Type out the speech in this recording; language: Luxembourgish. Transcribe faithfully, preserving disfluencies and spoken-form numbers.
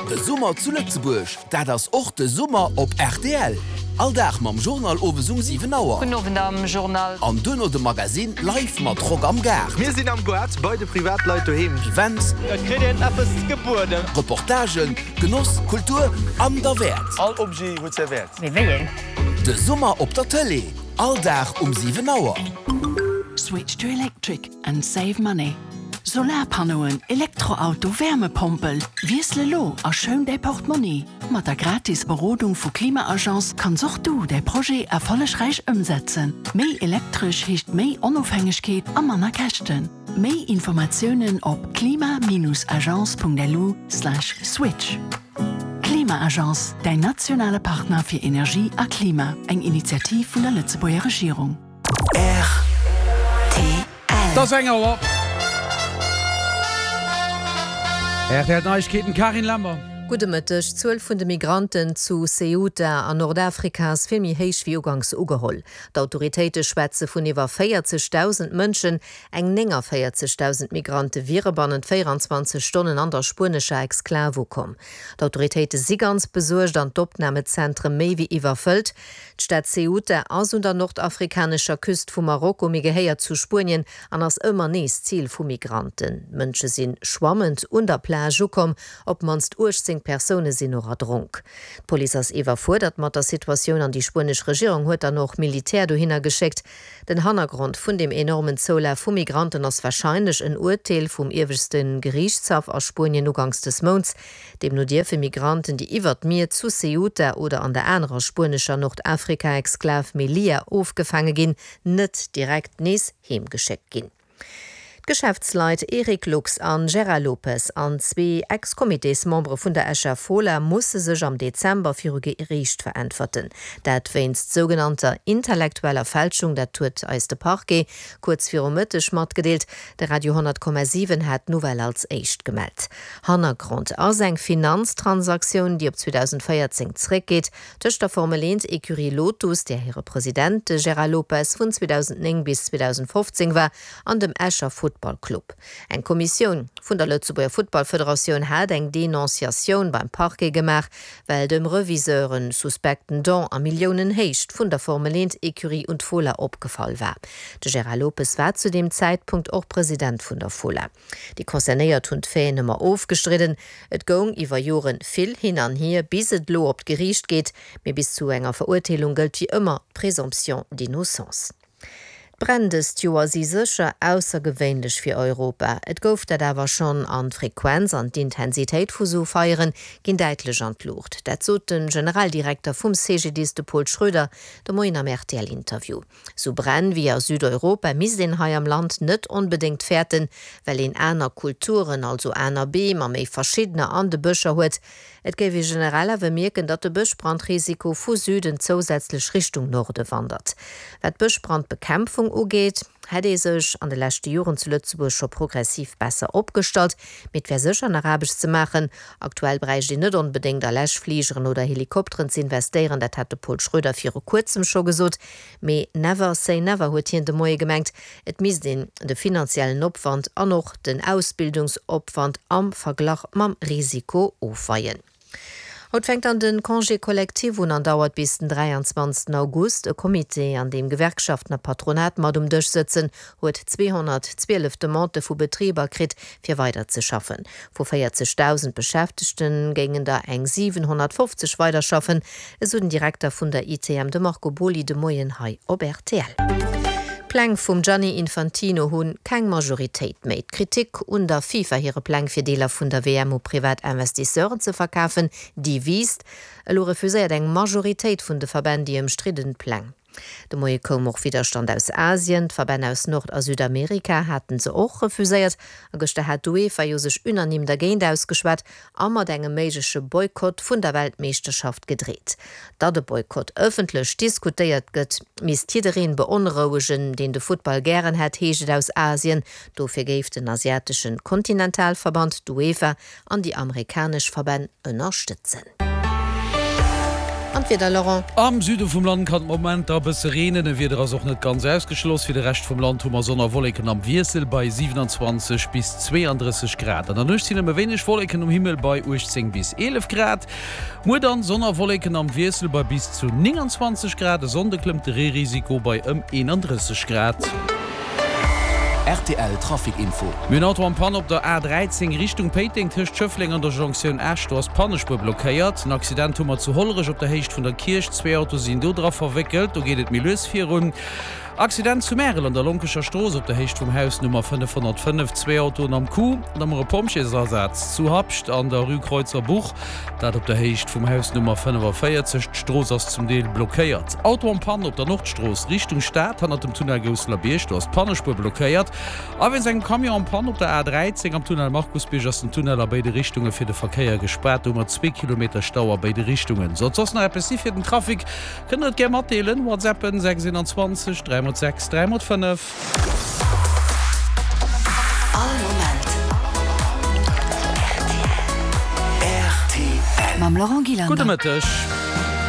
De Summer zu Lëtzebuerg, dat ass och de Summer op R T L. All Dag mam Journal owes um siwen Auer. Gudden Owend am Journal. An duerno de Magazine live mat Rock am Gaart. Mir sinn am Gaart bei de Privatleit doheem. Events, Et kritt een eppes gebueden. Reportagen, Genoss, Kultur an derwäert. All Objet huet säi Wäert. Mee wéi een? De Summer op der Tëlee. All Dag um siwen Auer. Switch to electric and save money. Solarpannoen, Elektroauto, Wärmepompel. Wiessel elo a schoun däi Portmonni. Mat der gratis Berodung vu Klima-Agence kanns och du däi Projet erfollegräich ëmsetzen. Méi elektresch heescht méi Onofhängegkeet a manner Käschten. Méi Informatiounen op klima Bindestrich agence Punkt L U slash switch. Klima-Agence, däin nationale Partner fir Energie a Klima. Eng Initiativ vun der Lëtzebuerger Regierung. R T L. Et ass eng Auer. R T L Neiegkeeten, Karin Lemmer. Gudde Mëtteg. D'Zuel vun de Migranten zu Ceuta an Nordafrika ass vill méi héich wéi ugangs ugeholl. D'Autoritéite schwätze vun iwwer véierzegdausend Mënschen, eng néngavéierzegdausend Migrante wiere bannent véierenzwanzeg Stonnen an der spuenescher Exklav ukomm. D'Autoritéite si ganz besuergt an d'Opnamezentren méi wéi iwwerfëllt. D'Stad Ceuta ass un der nordafrikanescher Küst vu Marokko, mee gehéiert zu Spuenien an ass ëmmer nees Zil vu Migranten. Mënsche si schwammend un der Plage ukomm, op d'mannst uechtzéng Persoune sinn och erdronk. D'Police ass iwwerfuerdert mat der Situatioun an déi spuenesch Regierung huet dann och Militär dohinner geschéckt. Den Hannergrond vun dem enormen Zoulaf vu Migranten ass warscheinlech en Urteel vum ieweschte Geriichtshaff a Spuenien ugangs des Mounts. Deemno dierfe Migranten, déi iwwer d'Mier zu Ceuta oder an der anerer spuenescher Nordafrika-Exklav Melilla ofgefaange ginn, net direkt nees heemgeschéckt ginn. D'Geschäftsleit Eric Lux an Gérard Lopez an zwee Ex-Comitésmembere vun der Escher Fola musse sech am Dezember viru Geriicht veräntwerten. Dat wéinst sougenannter intellektueller Fälschung, dat huet eis de Parquet kuerz viru Mëtteg matgedeelt. De Radio honnert Komma siwen hat d'Nouvelle als éischt gemellt. Hannergrond ass eng Finanztransaktioun, déi op zweedausendvéierzéng zeréckgeet, tëscht der Formel eent Ecurie Lotus, där hire President de Gérard Lopez vun zweedausendnéng bis zweedausendfofzéng war, an dem Escher Futtball Club. Eng Kommissioun vun der Lëtzebuerger Futtballfederatioun hat eng Denonciatioun beim Parquet gemaach, well dem Reviseur en suspekten Don a Milliounenhéicht vun der Formel eent Ecurie un d'Fola opgefall war. De Gérard Lopez war zu deem Zäitpunkt och President vun der Fola. Déi Concernéiert hunn d'Faiten ëmmer ofgestridden. Et goung iwwer Joren vill hin an hier, bis et elo op d'Geriicht geet, mee bis zu enger Verurteelung gëllt wéi ëmmer d'Présomption d'innocence. D'Bränn dëst Joer si sécher aussergewéinlech fir Europa. Et gouf dat awer schonn an d'Frequenz an d'Intensitéit vu sou Feiere ginn däitlech an d'Luucht. Dat sot de Generaldirekter vum C G D I S, de Paul Schroeder, de Moien am R T L-Interview. Sou Bränn wéi a Südeuropa misst een hei am Land net onbedéngt fäerten, well een aner Kulturen, also aner Beem a méi verschiddener an de Bëscher huet. Et géif ee generell awer mierken, datt de Bëschbrandrisiko vu Süden zousätzlech Richtung Norde wandert. Wat d'Bëschbrandbekämpfung ugeet, hätt ee sech an de leschte Joren zu Lëtzebuerg scho progressiv besser opgestallt, mee et wär sécher nach Aarbecht ze maachen. Aktuell bräicht een net onbedéngt a Läschfligeren oder Helikopteren ze investéieren, dat hat de Paul Schroeder viru kuerzem scho gesot. Mee never say never huet hien de Moie gemengt, et misst een de finanziellen Opwand an och den Ausbildungsopwand am Verglach mam Risiko ofweien. Haut fänkt dann de Congé collectif un an dauert bis den dräianzwanzegsten August. E Comité, an deem Gewerkschaften a Patronat mat um Dësch sëtzen, huet zweehonnertzwielef Demandë vu Betriber kritt, fir weider ze schaffen. Vu véierzegdausend Beschäftegte géingen der eng siwenhonnertfofzeg weiderschaffen, esou den Direkter vun der I T M, de Marco Boly, de Moien hei op R T L. D'Pläng vum Gianni Infantino hu keng Majoritéit méi. D'Kritik un der FIFA hire Pläng fir Deeler vun der W M u privat Investisseuren ze verkafen, déi wiisst. Elo refuséiert eng Majoritéit vun de Verbänn déi ëmstridden Pläng. De Moie koum och Widderstand aus Asien, d'Verbänn aus Nord a Südamerika haten se och refuséiert. A gëschter hat d'UEFA jo sech unanime dergéint ausgeschwat a mat engem méigleche Boykott vun der Weltmeeschterschaft gedreet. Datt e Boykott ëffentlech diskutéiert gëtt, misst jiddereen beonrouegen, deen de Futtball gären hätt, heescht et aus Asien. Dofir géif den asiatesche Kontinentalverband d'UEFA an déi amerikanesch Verbänn ënnerstëtzen. An d'Wieder, Laurent? Am Süde vum Land kann et Momenter e bësse reenen, e Wieder ass och net ganz ausgeschloss. Fir de Rescht vum Land hu mer Sonn a Wolleken am Wiessel bei siewenundzwanzeg bis zweeandrësseg Grad. An der Nuecht sinn nëmme wéineg Wolleken um Himmel bei uechtzéng bis eelef Grad. Muer dann Sonn a Wolleken am Wiessel bei bis zu nénganzwanzeg Grad. E Sonnde klëmmt de Reerisiko bei ëm eenandrësseg Grad. Rtl Trafic Info. Mir hunn Auto en Panne op der A dräizéng Richtung Péiteng tëscht Schëffleng an der Jonktioun Esch. Do ass d'Pannespuer blockéiert. En Accident hu mer zu Hollerech op der Héicht vun der Kierch. Zwee Autoe sinn do dra verwéckelt. Do geet et méi lues virun. Accident zu Märel an der Lonkecher Strooss op der Héicht vum Haus Nummer fënnefhonnertfënnef. Zwee Autoen am Coup. An da mer e Pompjeesasaz zu Habscht an der Rue Kreuzerbuch. Dat op der Héicht vum Haus Nummer fënnefavéierzeg. D'Strooss ass zum Deel blockéiert. Auto en Panne op der Nordstrooss Richtung Stad hannert dem Tunnel Gousselerbierg. Do ass d'Pannespuer blockéiert. A wéinst engem Camion en Panne op der A dräizéng am Tunnel Markusbierg ass den Tunnel a béide Richtunge fir de Verkéier gespaart. Do hu mer zwee Kilometer Stau a béide Richtungen. Sollt soss nach eppes si fir den Trafic, kënnt der et gär matdeelen. WhatsAppen sechs eenanzwanzeg dräi mol sechs dräi mol fënnef. All Moment rtl. Mam Laurent Gillander. Gudde Mëtteg.